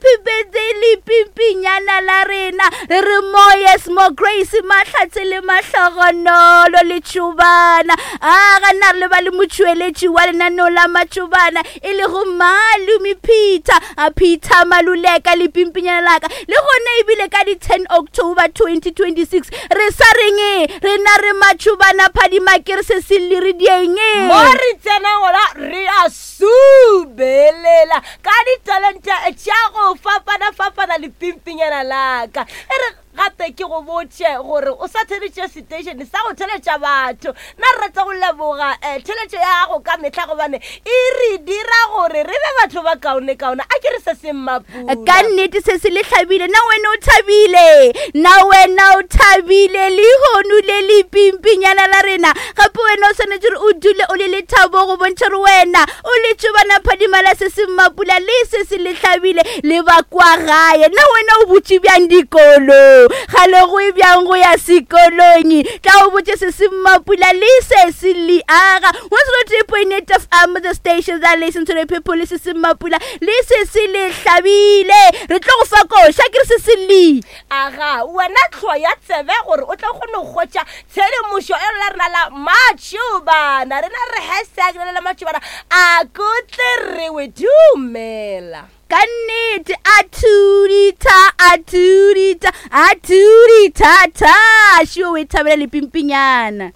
Happy birthday lepimpinyana la rena. Re re more yes more grace mahlatse le mahlogonolo le tšobana. A ga nna re le ba le motšweletši wa lenaneo la matšobana e lego Malome Peter, a Peter Maluleka lepimpinyana la ka. Le gona ebile ka di 10 October 2026 re sa reng rena re matšobana phadima ke re se se le re dieng. Mo re tsenang gona re a subelela ka ditalente tša go fapana-fapana lepimpinyana la ka. E re gape ke go botše gore o sa theletše seteišene sa go theletša batho. Nna re rata go leboga um theletšo ya gago ka mehla gobane e re dira gore re be batho ba kaonekaone. A ke re se se mmapula. Ka nnete se se le hlabile. Na wena o thabile? Na wena o thabile lehono le lepimpinyana la rena? Gape wena o swanetše gore o dule o le lethabo go bontšha gore wena o le tšobana phadima la se se mmapula le se se le hlabile le ba kwa gae. Na wena o botše bjang dikolo? Ga le go e bjang go ya sekolong? Tla o botše se se mmapula le se se le aga. 103.8 FM, the station that listen to the people, le se se mmapula le se se le hlabile. Re tlo go fa koša ke re se se le. Aga wena hloya tsebe gore o tlo kgone go hwetša tshedimošo e la rena la matšobana. Rena re hashtag le la matšobana a kotle re we dumela. Ka nnete a thuditha a thuditha a thuditha tha šio o e thabela lepimpinyana.